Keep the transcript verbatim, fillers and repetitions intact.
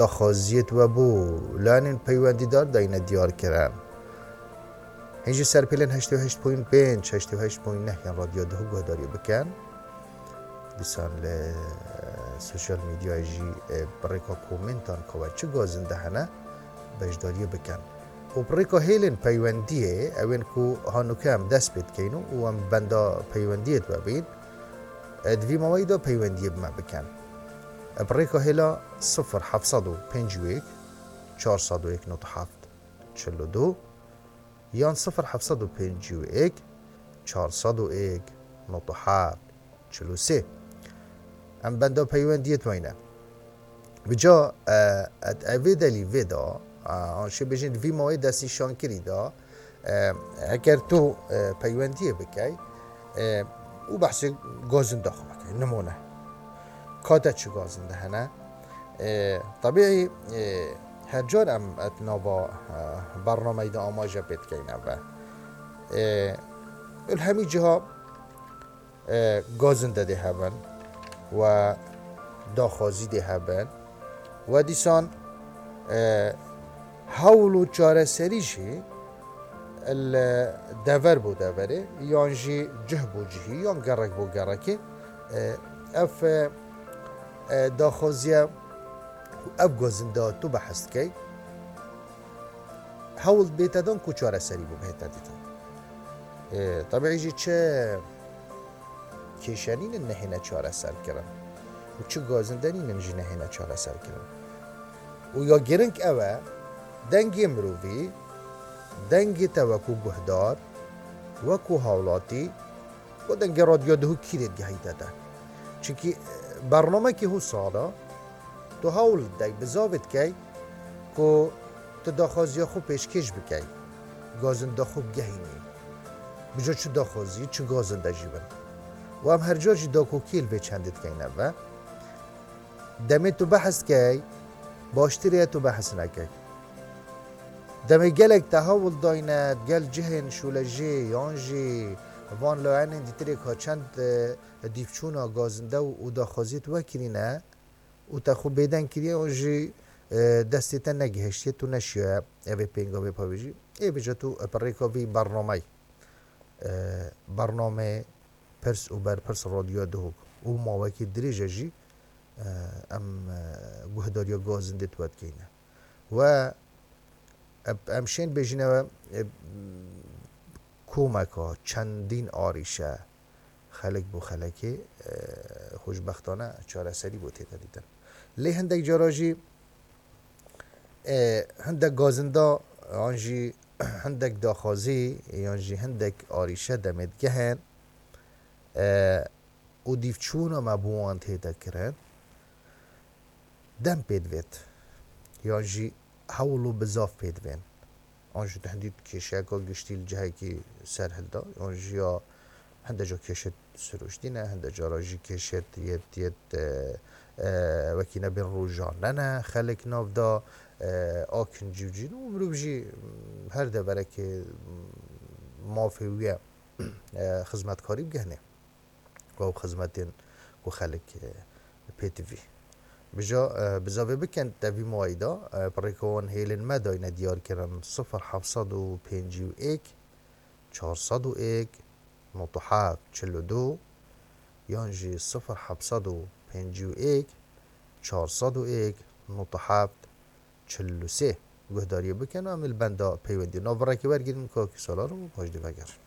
daxwaziyê we bû, layanên peywendîdar dayne diyar kirin. Hîn jî ser pêlên heştê û heşt point pênc, heştê û heşt point neh yan Radyo Duhok guhdarî bikin. Dîsan li sosyal medyayê jî, e, bi rêka komentan ka we çi gazinde hene, beşdariyê bikin. Û bi rêka hêlên peywendiyê, ewên ku hanûke em dest pê dikeyn û em benda peywendiyê we bîn, e, di vî maweyî de peywendiyê bi me bikin. E, bi rêka hêla sifir heft sed û pêncî û yek, çar sed û yek nokta heft, çil û du yan sifir heft sed û pêncî û yek, çar sed û yek nokta heft, çil û sê. Em benda peywendiyê we ne. Bi ca, e, et evê delî vê de, e, an şê bêjin vî mawê destnîşankirî de, e, eger tu, e, peywendiyê bikey, e, û behsê gazinda xwe bikey, nimûne. Ka te çi gazinde hene? E, tabî, e, her car em et nava, e, bernameyî de amaje pê dikeyne ve. E, il hemî ciha, e, gazinde dê hebin we daxwazî dê hebin we dîsan, e, hewl û çareserî jî li dever bo deverê yan jî cih bo cihî yan gerek bo gerekê, e, ev, e, e, daxwaziye û ev gazinda tu behs dikey, hewl bête dan ku çareserî bo bihête dîtin. E, tabî jî çi kêşe nînin nehêne çareser kirin û çi gazinde nînin jî nehêne çareser kirin. Û ya giring ew e, dengê mirovî, dengê te wekû guhdar, wekû hawlatî, û dengê Radyo Duhok kî dê digehîte te. Çimkî, e, bernamekî hû sala, tu hewl didey, bizavê dikey ku tu daxwaziya xwe pêşkêş bikey, gazinda xwe bigehînî. Bi ca çi daxwazî, çi gazinde jî bin. Û em her car jî dakokiyê li vê çendê dikeyne ve. Demê tu behs dikey, baştir e tu behs nekey. Demê gelek te hewl dayne, gel cihên şûlejê yan jî van layenên dîtirê ka çend, e, dîvçûna gazinde û, û daxwaziyê tu wekirîne, û te xwe bêdeng kiriye, û jî, e, destê te negihiştiye, tu neşiyaye evê pêngavê pavêjî. Ê bêje tu, e, bi rêka vî bernameyî, e, bernameyê Pirs û Berpirs Radyoya Duhok û mawekî dirêj e jî, e, em, e, guhdariya gazindê tu we dikeyne. We, e, em şên bêjine we, e, komeka çendîn arîşe, xelek bo xelekê, e, xweşbextane çareserî bo tête dîtin. Lê hindek cara jî, e, hindek gazinda yan jî hindek daxwazî yan jî hindek arîşe demê digehin, e, û dîvçûna me bo wan tête kirin, dem pê divêt, yan jî hewl û bizav pê divên. An jî tu hindî kêşeyeka giştî li cihekî ser hilda, an jî ya hinde ca kêşet sirûştî ne, hinde cara jî kêşet yet, yet, e, e, wekî nebên rojane ne, xelek nav da, e, a kincî û cîn û mirov jî her deverekê mafê wî ye, e, xizmetkarî bigehne. Ew xizmetên ku xelk, e, pê tivî. Bi ca, e, bizavê bikin te vî maweyî da, e, bi rêka wan hêlên me dayne diyar kirin sifir heft sed û pêncî û yek, çar sed û yek, nokta heft, çil û du, yan jî sifir heft sed û pêncî û yek, çar sed û yek, nokta heft, çil û sê. Guhdariyê bikin û em li benda peywendî. Navberekê wergirin, Kakî Salar û paşdî vegerin.